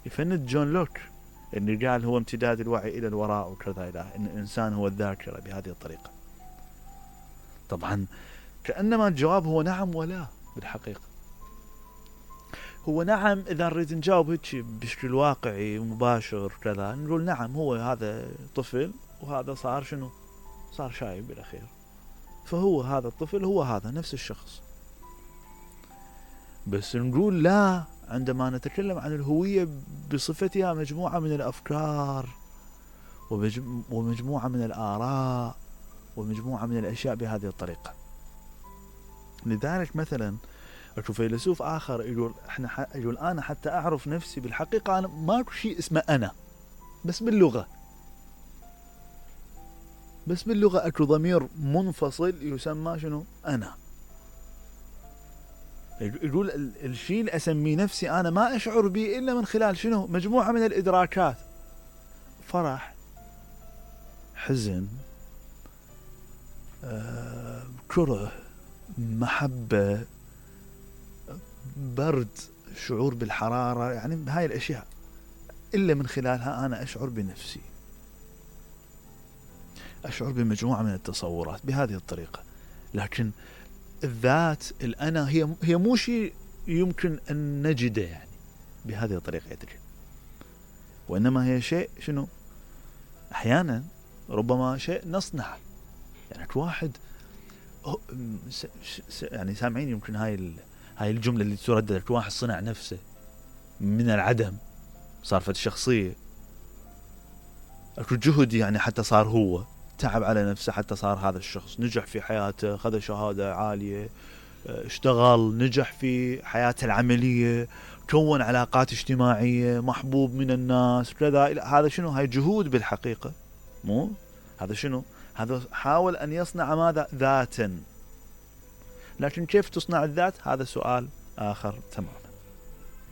يفند جون لوك اللي قال هو امتداد الوعي إلى الوراء وكذا، إلى أن الإنسان هو الذاكرة بهذه الطريقة. طبعا كأنما الجواب هو نعم ولا. بالحقيقة هو نعم إذا نريد نجاوب هيك بشكل واقعي مباشر كذا، نقول نعم هو هذا طفل وهذا صار شنو، صار شايب بالأخير، فهو هذا الطفل هو هذا نفس الشخص. بس نقول لا عندما نتكلم عن الهوية بصفتها مجموعة من الأفكار ومجموعة من الآراء ومجموعة من الأشياء بهذه الطريقة. لذلك مثلا اكو فيلسوف آخر يقول أنا حتى أعرف نفسي بالحقيقة أنا ماكو شيء اسمه أنا، بس باللغة اكو ضمير منفصل يسمى شنو أنا. يقول الشيء اللي أسميه نفسي أنا ما أشعر به إلا من خلال شنو، مجموعة من الإدراكات، فرح، حزن، كره، محبة، برد، شعور بالحرارة، يعني هاي الأشياء إلا من خلالها أنا أشعر بنفسي، أشعر بمجموعة من التصورات بهذه الطريقة. لكن الذات الأنا هي مو شيء يمكن أن نجده يعني بهذه الطريقة يتجد، وإنما هي شيء شنو، أحيانا ربما شيء نصنع. يعني واحد يعني سامعين يمكن هاي الجملة اللي تردد، واحد صنع نفسه من العدم، صار فد شخصية، أكو جهد يعني حتى صار هو، تعب على نفسه حتى صار هذا الشخص، نجح في حياته، خذ شهادة عالية، اشتغل، نجح في حياته العملية، كون علاقات اجتماعية، محبوب من الناس كذا. هذا شنو؟ هاي جهود بالحقيقة، مو هذا شنو؟ هذا حاول أن يصنع ماذا؟ ذاتا. لكن كيف تصنع الذات؟ هذا سؤال آخر تماما.